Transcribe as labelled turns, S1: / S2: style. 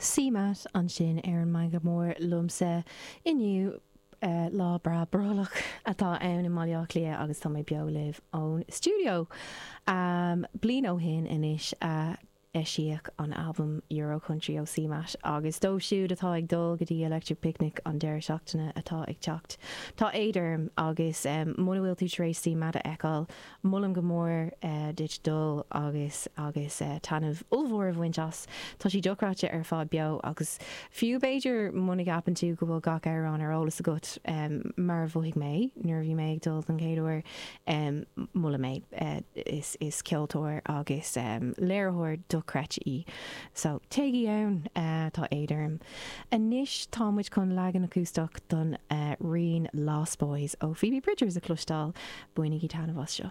S1: CMAT ansin ar an Meangadh Mór liomsa inniu. Lá breá brollach atá ann i mBaile Átha Cliath agus tá mé beo libh ón stiúideo. Bliain ó shin anois a eisíodh an albam Euro Country ó CMAT agus dóibh siúd atá ag dul go dtí Electric Picnic an deireadh seachtaine atá ag teacht, tá éad orm agus muna bhfuil tú tar éis CMAT a fheiceáil, Molaim go mór duit dul agus agus taitneamh ollmhór a bhaint as. Tá sí dochreidte ar fad beo agus fiú b'fhéidir muna gceapann tú go bhfuil gach amhrán ar eolas agat, mar a mhothaigh mé nuair a bhí mé ag dul don chéad uair, molaim é. Is is ceoltóir agus léiritheoir dochreidte í. So, téigí ann, tá éad orm. Anois tá muid chun leagan acústach don rian Lost Boys ó Phoebe Bridgers a chloisteáil. Bainigí taitneamh as seo.